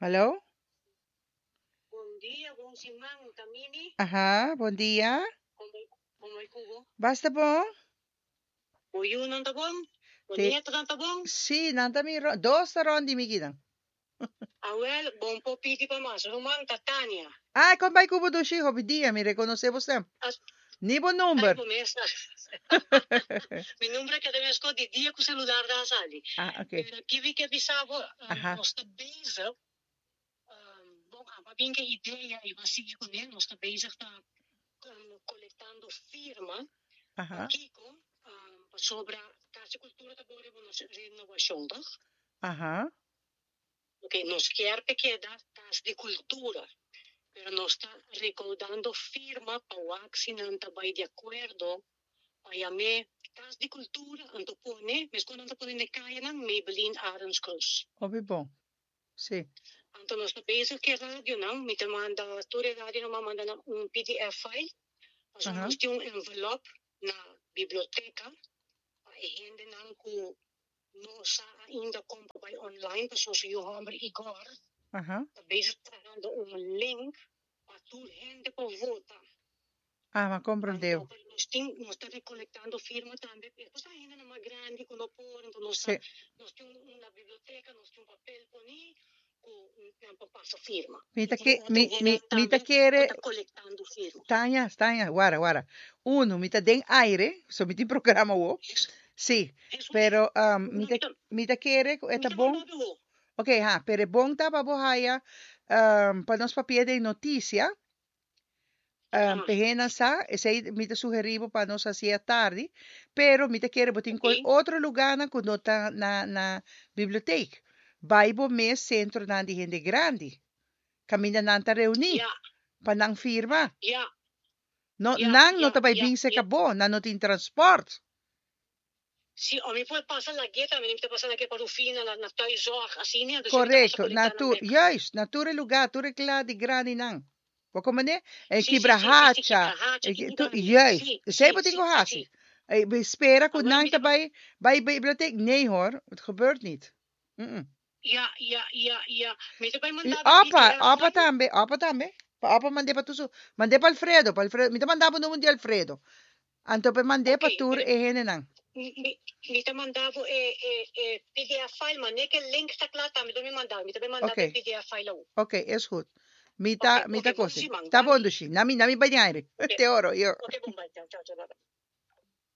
Hallo? Bon dia, bon siman, Tamini. Aha, bon dia. Kon bai ku bo? Basta bon? Bo yunan ta bon? Bo Te, nietonan ta bon? sí, nan ta mi ro- dos ta rond di mi kinan. Awel, bon por pidi pa mas. Ruman ta Tania. Ah, kon bai ku bo dushi? Hopi dia, mi rekonosé bo stem. As Ni bo ai number. bo mes. Mi number a keda meskos di dia ku selular ta sali. Ah, ok. Pero ki mi ke bisa bo, Aha. nos ta bezig, bon, abo a bin ke idea i bo a sigui kuné, nos ta bezig ta kolektando firma. Aha. Pakiko? Pasobra Kas di Kultura ta bon riba nos renobashon, tòg? Aha. Ok, nos kier pa keda Kas di Kultura, pero nos ta rekoudando firma pa wak si nan ta bai di akuerdo pa yam'é Kas di Kultura, anto pone, meskos nan ta pone na e kayanan, Maybelline Arends Cruz. Hopi bon. Sí. Anto nos ta bezig ku e radionan, mi ta manda tur e radionan mi a manda nan un pdf file, pasobra nos tin un envelop na biblioteka pa e hendenan ku no sa ainda kon pa bai online, pasobra su yu hòmber Igor ta bezig trahando un link pa tur hende por vota. Ah, m'a komprendé. Anto nos tin, nos ta recolectando firma tambe, e cosa hendenan mas grandi cu no por, anto nos ta, nos tin un na biblioteca, nos tin un papel poni cu nan por pasa firma. Mi Y ta tin ke, otro mi, mi, hendenan mi ta tambe cu kere, ta colectando firma. Tania, Tania, wara, wara. Uno, mi ta den aire, so mi tin programa awo. Sí, Eso, pero um, mi no, ta, mi ta, mi ta kere cu e mi ta ta bon. manda bo. Ok, ha, pero e bon ta pa bo haya, um, pa nos papia den noticia. P'e nan sa, esei mi ta sugerí bo pa nos hasié atardi, pero mi ta kere bo tin koi otro lugánan ku no ta na na bibliotek. Bai bo mes sentronan di hende grandi, kaminda nan ta reuní, pa nan firma. No, nan no ta bai bin serka bo, nan no tin transpòrt. Sí, o mi por pasa lag'é tambe, mi ta pasa lag'é pa Rufina na na thuiszorg asina, entonces mi ta pasa Correcto, na colecta nan tur, bek. juist, na tur e lugar, tur e kla di grandinan. Bo comprende? E Sí, sí, sí, sí, sí, kibrahacha, kibrahacha, e ki ki- tur, grandi. juist. Sí, Esei sí, bo tin sí, ku sí. hasi. E, bo spera ku Awor nan mi ta ta bai, bai bibliotheek? Nee hoor, het gebeurt niet. Mm-mm. Ya, ya, ya, ya. Mi ta bai I manda bo opa, PDF opa file. tambe, opa tambe. Pa opa mand'é pa tur su, mand'é pa Alfredo, pa Alfredo. Mi ta manda bo number di Alfredo. Anto pa e mand'é Ok, pa tur pero e hendenan. mi, mi ta manda bo e, e, e PDF file, ma ne ke link ta kla tambe lo mi manda. Mi ta bai manda Ok. bo e PDF file awo. Ok, is goed. Mi Ok, ta, mi ok, ta bon kosi. siman. Ta bon Danki. dushi. Na mi, na mi bai den aire. Ok, Te oro, yo. ok, bon bai. Chao, chao, chao, bye bye.